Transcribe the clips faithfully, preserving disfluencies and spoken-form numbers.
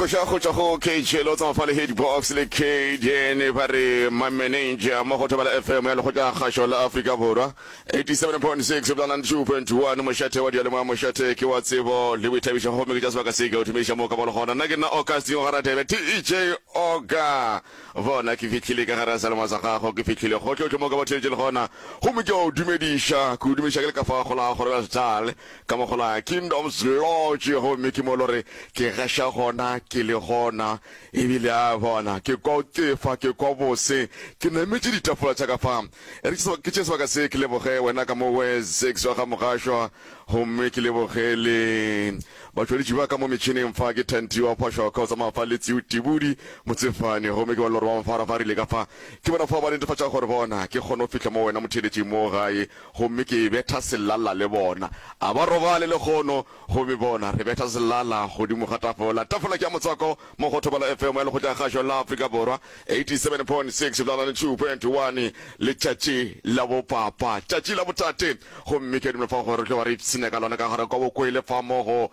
Koša go tšwa go K J lo tsamaya fa le Hitbox le K D N, ba re My Manager, mo go Thobela F M ya Lekgotla Kgašo la Afrika Borwa, eighty-seven point six bla ninety-two point one, mošate wa diyalemoya, mošate ke wa tsebo le boithabišo. Gomme ke tša sebaka se ke o thumiša mo ka bolo gona. Nna ke nna Augustin wa Garadebe, D J Oga. Bona, ke fihlile ka gare ga selemo sa gago, ke fihlile gotlhotlho mo ka batheletše le gona, gomme ke a o dumediša, ke o dumediša ke le ka fa go la Groblersdal, ka mo go la Kingdoms Lodge. Gomme ke mo lore ke gaša gona, ke le gona ebile a bona ke kwa o tefa, ke kwa bose, ke nametše ditafola tša ka fa. E re ke tše sebaka se ke leboge wena ka mo we six wa ga Mogašwa, gomme ke leboge le batšweletši ba ka mo metšhineng fa, ke Thanti wa Phošoka o tsamaya fa le Tseo Tibudi Motsefane. Gomme ke bona gore ba mfarafarile ka fa, ke bona fa ba netefatša gore bona ke kgone go fihla mo wena motheletši mo gae, gomme ke betha selala le bona, a ba robale le kgono. Gomme bona re betha selala godimo ga tafola. Tafola ke ya motswako mo go Thobela F M ya Lekgotla Kgašo la Afrika Borwa, eighty-seven point six bla ninety-two point one. Letšatši la bopapa, tšatši la botate, gomme ke dumela fa gore re tlo ba re ipshina ka lona ka gare kwa bokwele fa mo go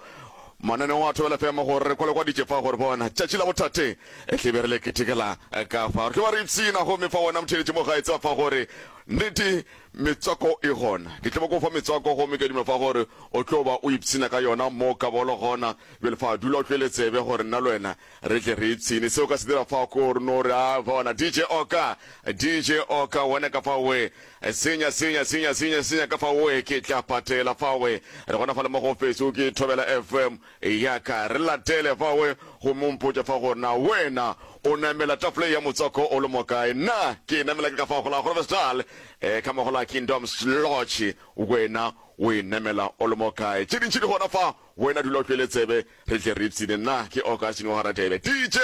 mananeo a Thobela F M, gore re kwalekwaditše fa gore bona tšatši la botate e tlebe re le ketekela ka fa, re tlo ba re ipshina. Gomme fa wena motheletši mo gae, tseba fa gore nnete metswako e gona, ke tlo ba ko fa metswako, gomme ke dumela fa gore o tlo ba o ipshina ka yona mo ka bolo gona. Bjale fa dula o tlwele tsebe gore nna le wena re tle re ipshine. Seo ka se dira fa ko gore no re a bona D J Oka, D J Oka, wena ka fa we senya senya senya senya senya ka fa we, ke tla patela fa we. Re gona fa le mo go Facebook ke Thobela F M ya ka, re latele fa we, gomme o mpotša fa gore na wena o namela tafole ya motswako o le mo kae. Nna ke namela ke ka fa go la Groblersdal, um ka mo go la Kingdoms Lodge. Wena o e namela o le mo kae? Tše dintši di gona fa, wena dula o tlwele tsebe, re tle re ipshine. Nna ke Augustin wa Garadebe, D J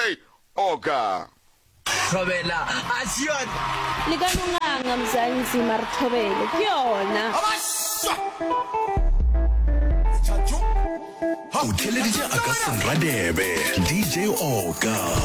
Oka. Thobela a se yona. Le ka no nganga Mzansi, mare thobele ke yona. O theleditše Augustin Radebe, D J Oka.